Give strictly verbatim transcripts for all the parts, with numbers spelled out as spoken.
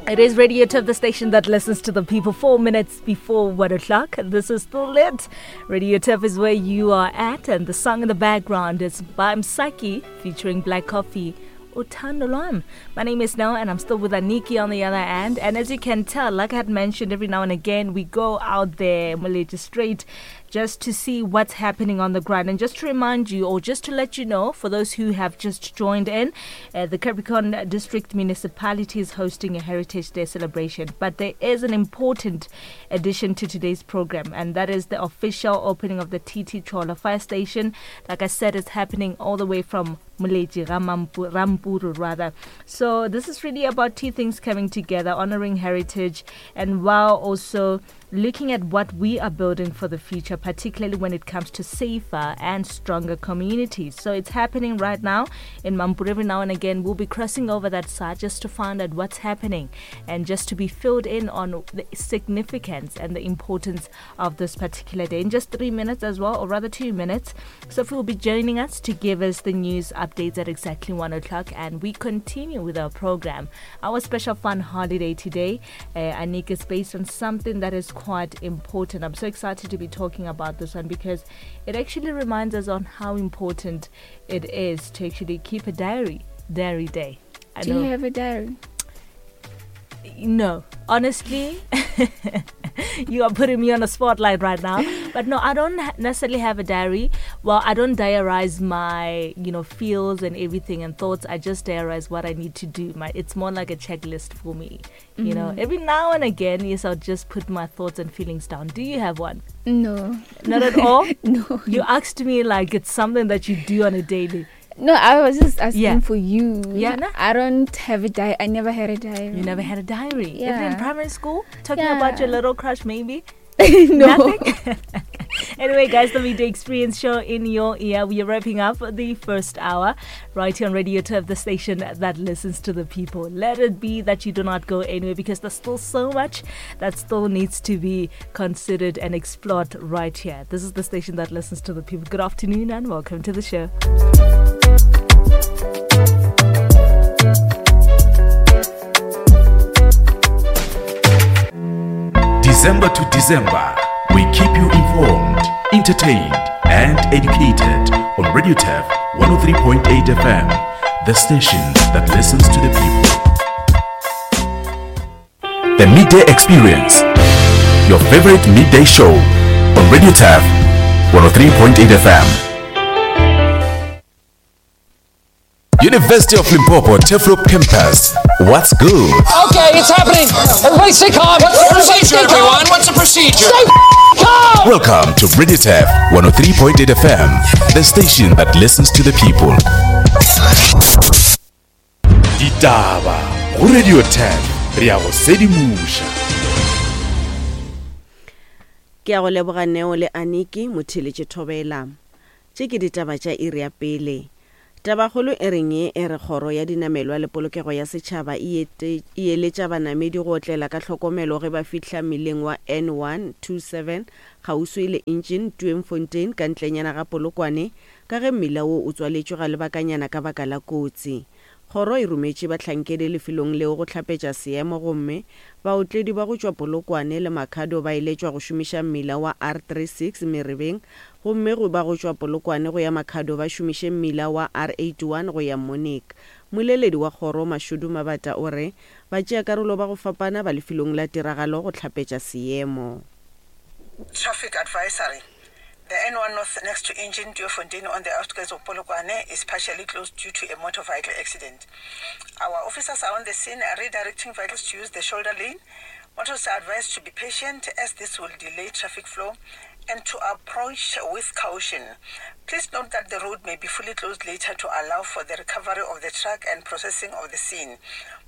It is Radio Turf, the station that listens to the people. Four minutes before one o'clock. This is still lit. Radio Turf is where you are at, and the song in the background is by Msaki featuring Black Coffee. Uthando Lwam. My name is Nell, and I'm still with Aniki on the other end. And as you can tell, like I had mentioned, every now and again we go out there, Malaysia straight, just to see what's happening on the ground. And just to remind you, or just to let you know, for those who have just joined in, uh, the Capricorn District Municipality is hosting a Heritage Day celebration. But there is an important addition to today's program, and that is the official opening of the T T Cholo Fire Station. Like I said, it's happening all the way from Moletši, Rampuru rather. So this is really about two things coming together, honoring heritage and while also looking at what we are building for the future, particularly when it comes to safer and stronger communities. So it's happening right now in Mampuru. Every now and again, we'll be crossing over that side just to find out what's happening and just to be filled in on the significance and the importance of this particular day. In just three minutes as well, or rather two minutes, Sophie will be joining us to give us the news updates at exactly one o'clock, and we continue with our program. Our special fun holiday today, uh, Anik, is based on something that is quite important. I'm so excited to be talking about this one because it actually reminds us on how important it is to actually keep a diary, diary day. I Do know. you have a diary? No, honestly, you are putting me on a spotlight right now. But no, I don't necessarily have a diary. Well, I don't diarize my, you know, feels and everything and thoughts. I just diarize what I need to do. My, it's more like a checklist for me. You mm-hmm. know, every now and again, yes, I'll just put my thoughts and feelings down. Do you have one? No. Not at all? No. You asked me like it's something that you do on a daily. No, I was just asking yeah. for you. Yeah, no? I don't have a diary. I never had a diary. You never had a diary? Yeah. Even in primary school? Talking yeah. about your little crush, maybe? No. Nothing? Anyway, guys, the Midday Experience show in your ear. We are wrapping up the first hour right here on Radio Turf, the station that listens to the people. Let it be that you do not go anywhere because there's still so much that still needs to be considered and explored right here. This is the station that listens to the people. Good afternoon and welcome to the show. December to December, we keep you informed, entertained, and educated on Radio Turf one oh three point eight F M, the station that listens to the people. The Midday Experience, your favorite midday show on Radio Turf one oh three point eight F M. University of Limpopo Turfloop Campus. What's good? Okay, it's happening. Everybody stay calm. What's the procedure, stay everyone? What's the procedure? Stay calm. Welcome to Radio Turf one oh three point eight F M, the station that listens to the people. Ditaba go Radio Turf, re a go sedimusha. Ke a go leboga Neo le Aniki motheletše thobela. Tše ke ditaba tša iri ya pele. Tabakgolo e reng ye e re kgoro ya dinamelwa le polokego ya setšhaba e eletša banamedi go otlela ka tlhokomelo ge ba fihla mmileng wa N one two seven kgauswi le Engine Tweefontein ka ntlenyana ga Polokwane ka ge mmila wo o tswaletšwe ga lebakanyana ka baka la kotsi. Kgoro e rometše bahlankedi lefelong leo go hlapetša seemo gomme baotledi ba go tšwa Polokwane le Makhado ba eletšwa go šomiša mmila wa R thirty-six Merebeng gomme go ba go tšwa Polokwane go ya Makhado ba šomiše mmila wa R eighty-one go ya Monique. Moleledi wa kgoro Mashudu Mabata o re ba tšea karolo ba go fapana ba lefelong la tiragalo go hlapetša seemo. Traffic advisory. The N one North next to Engine Tweefontein on the outskirts of Polokwane is partially closed due to a motor vehicle accident. Our officers are on the scene redirecting vehicles to use the shoulder lane. Motorists are advised to be patient as this will delay traffic flow and to approach with caution. Please note that the road may be fully closed later to allow for the recovery of the truck and processing of the scene.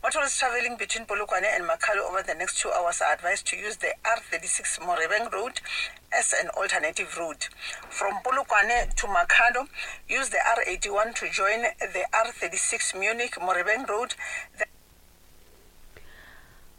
Motorists traveling between Polokwane and Makhado over the next two hours are advised to use the R thirty-six Morebeng Road as an alternative route. From Polokwane to Makhado, use the R eighty-one to join the R thirty-six Munich Morebeng Road. The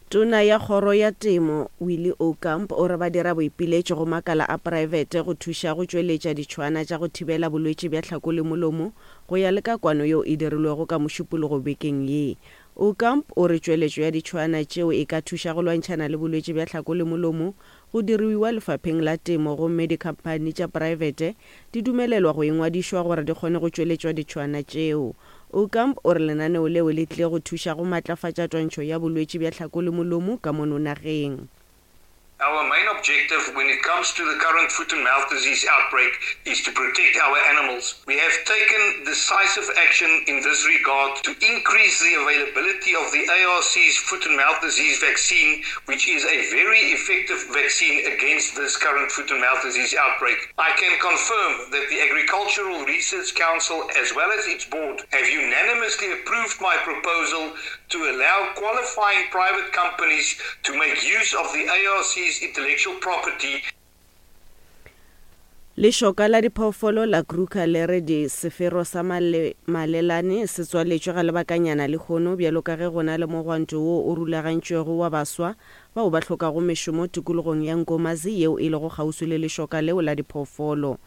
Tona ya kgoro ya temo Willie Aucamp o re ba dira boipiletšo go makala a praebete go thuša go tšweletša ditšhwana tša go thibela bolwetši bja tlhako le molomo go ya le ka kwano yeo e dirilwego ka mošupologo bekeng ye. Aucamp o re tšweletšo ya ditšhwaana tšeo e ka thuša go lwantšhana le bolwetši bja tlhako le molomo go diruiwa lefapheng la temo, gomme dikhamphani tša praebete di dumelelwa go ingwadišwa gore di kgone go tšweletšwa ditšhwaana tšeo. Aucamp o re lenaneo leo le tlile go thuša go matlafatša twantšho ya bolwetši bja tlhako le molomo ka mono nageng. Our main objective when it comes to the current foot and mouth disease outbreak is to protect our animals. We have taken decisive action in this regard to increase the availability of the A R C's foot and mouth disease vaccine, which is a very effective vaccine against this current foot and mouth disease outbreak. I can confirm that the Agricultural Research Council, as well as its board, have unanimously approved my proposal to allow qualifying private companies to make use of the A R C's intellectual property. Lešoka la diphoofolo la Kruger le re di sefero sa male, malelane se tswaletšwe ga lebakanyana lehono bjalo ka ge go na le mogwanto wo o rulagantšwego wa baswa bao ba hlokago mešomo tikologong ya Nkomazi yeo e lego kgauswi le lešoka leo la diphoofolo.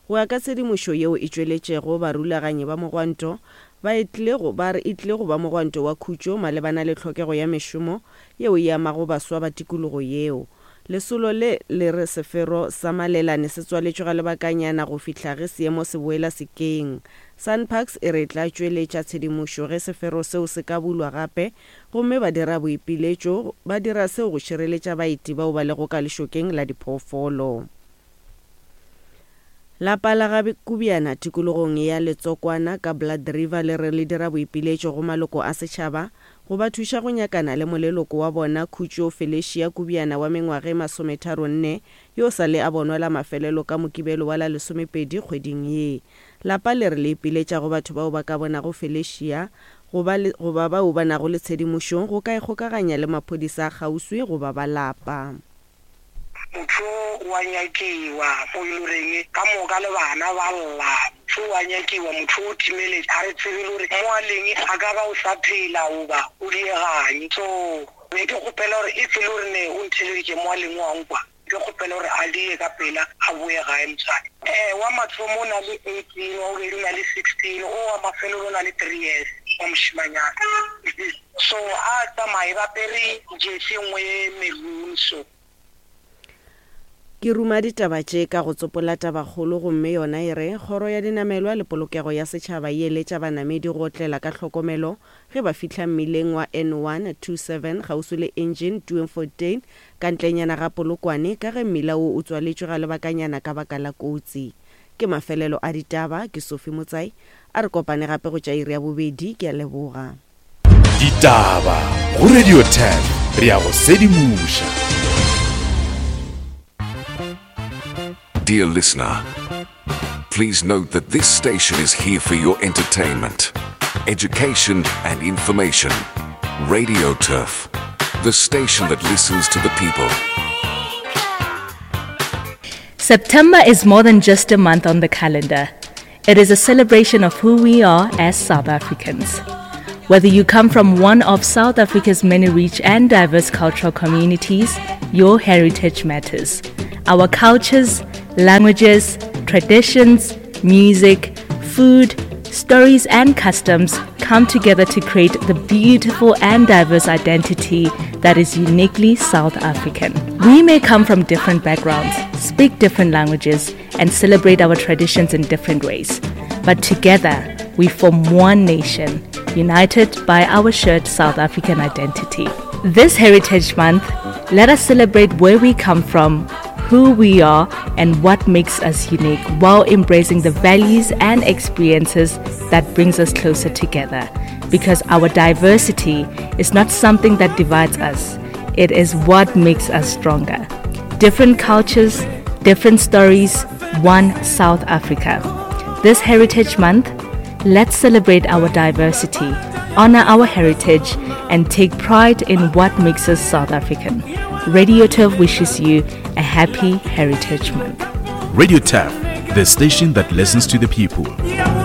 Go ya ka tshedimošo yeo e tšweletšego, barulaganyi ba mogwanto ba e tlile go ba re e tlile go ba mogwanto wa khutšo malebana le tlhokego ya mešomo yeo e amago baswa ba tikologo yeo. Lesolo le le re sefero sa malelane se tswaletšwe ga lebakanyana go fihla ge seemo se boela sekeng. SANParks e re tla tšweletša tshedimošo ge sefero seo se ka bulwa gape, gomme ba dira boipiletšo ba dira seo go šireletša baeti bao ba lego ka lešokeng la diphoofolo. Lapa la ga Kubiana tikologong ya Letsokwana ka Blood River le re le dira boipiletšo go maloko a setšhaba go ba thuša go nyakana le moleloko wa bona Khutšo Felicia Kubiana wa mengwaga e masometharo nne yo sa le a bonwa la mafelelo ka Mokibelo wa la lesomepedi kgweding ye. Lapa le re le ipiletša go batho bao ba ka bonago Felicia goba le, goba bao ba nago le tshedimošo go ka ikgokaganya le maphodisa a kgauswi goba ba lapa. Motho wa nyakiwa mo e loreng ka moka le bana ba lla. Motho wa nyakiwa, motho o timeletše, a re tsebe le gore mo a leng a ka ba o sa phela goba o dieganye. So be ke kgopela gore if e le gore ne o ntheleditše mo a leng wa nkwa, ke kgopela gore a die ka pela a boe gae motswadi. Eh, wa mathomo o na le eighteen, wa bobedi o na le sixteen, o wa mafelelo o na le three years wa mošemanyana. So a tsamaye ba apere jersey e nngwe ye maroon so. Ke ruma ditaba tše ka go tsopola tabakgolo, gomme yona e re kgoro ya dinamelwa le polokego ya setšhaba e eletša banamedi go otlela ka tlhokomelo ge ba fihla mmileng wa N one two seven kgauswi le Engine Doornfontein ka ntlenyana ga Polokwane ka ge mmila wo o tswaletšwe ga lebakanyana ka baka la kotsi. Ke mafelelo a ditaba, ke Sophie Motsai, a re kopane gape go tša iri ya bobedi, ke a leboga. Ditaba go Radio ten, re ya go sedimoša. Dear listener, please note that this station is here for your entertainment, education and information. Radio Turf, the station that listens to the people. September is more than just a month on the calendar. It is a celebration of who we are as South Africans. Whether you come from one of South Africa's many rich and diverse cultural communities, your heritage matters. Our cultures, languages, traditions, music, food, stories and customs come together to create the beautiful and diverse identity that is uniquely South African. We may come from different backgrounds, speak different languages, and celebrate our traditions in different ways. But together, we form one nation, united by our shared South African identity. This Heritage Month, let us celebrate where we come from, who we are, and what makes us unique, while embracing the values and experiences that brings us closer together. Because our diversity is not something that divides us, it is what makes us stronger. Different cultures, different stories, one South Africa. This Heritage Month, let's celebrate our diversity, honor our heritage, and take pride in what makes us South African. Radio Turf wishes you a happy Heritage Month. Radio Turf, the station that listens to the people.